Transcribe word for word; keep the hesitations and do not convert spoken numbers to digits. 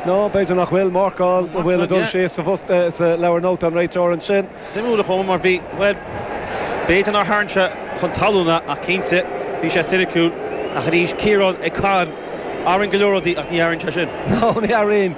No b'fhéidir nach bhfuil marcáil a bhfuil a dul sé sa sa leabhar nótaí an réiteoir ansin. Suimiúil chomh mar bhí well b'fhéidir nár tharraing sé chun talún ach cinnte bhí sé soiniciúil ach arís Ciarán ag can aran go leor rudaí ach ní airn sé sin. No ní airín.